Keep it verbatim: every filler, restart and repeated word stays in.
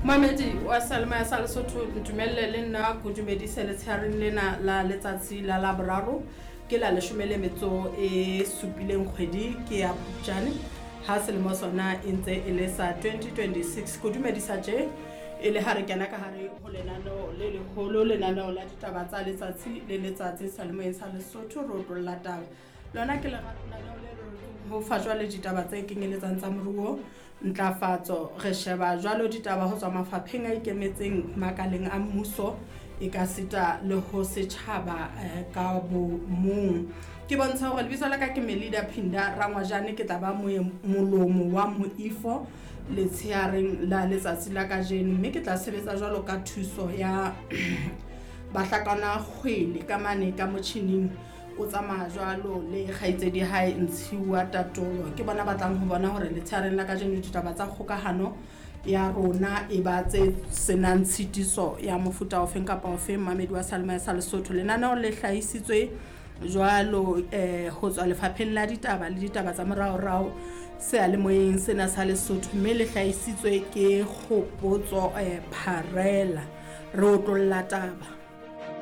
Mamedi wa Seyalemoya sa Lesotho, ntumelle le nna ko dumedise letsheareng lena la letsatsi la Laboraro, ke la leshome le metso e supileng kgwedi ke ya Phupjane, ha selemo sona e ntse e le sa twenty twenty-six. Ko dumedisa tje e le ha re kena ka hare ho lenaneo le leholo, lenaneo la ditaba tsa letsatsi le letsatsi seyalemoyeng sa Lesotho, re otlolla taba. Lona ke lenaneo le re ho fa jwale ditaba tse kenyeletsang tsa moruo, ntlafatso, re sheba jwalo ditaba ho tswa mafapheng a ikemetseng, makaleng a mmuso, e ka sita le ho setjhaba eh, ka bomong. Ke bontsha hore lebitso la ka ke Melida Phinda Rangwajane, ke tla ba molomo wa moifo letsheareng la letsatsi la kajeno, mme ke tla sebetsa jwalo ka thuso ya bahlakana kgwele ka mane ka motjhining o tsamaya jwalo le kgaitsedi hae Ntshiwa Tatolo. Ke bona batlang ho bona hore letsheareng la kajeno ditaba tsa kgokahano ya rona e ba tse senang tshitiso ya mofuta ofeng kapa ofeng. Mamedi wa Seyalemoya sa Lesotho, lenaneo le hlahisitswe jwalo eh ho tswa lefapheng la ditaba le ditaba tsa moraorao seyalemoyeng sena sa Lesotho, mme le hlahisitswe ke Kgopotso eh Pharela. Re otlolla taba.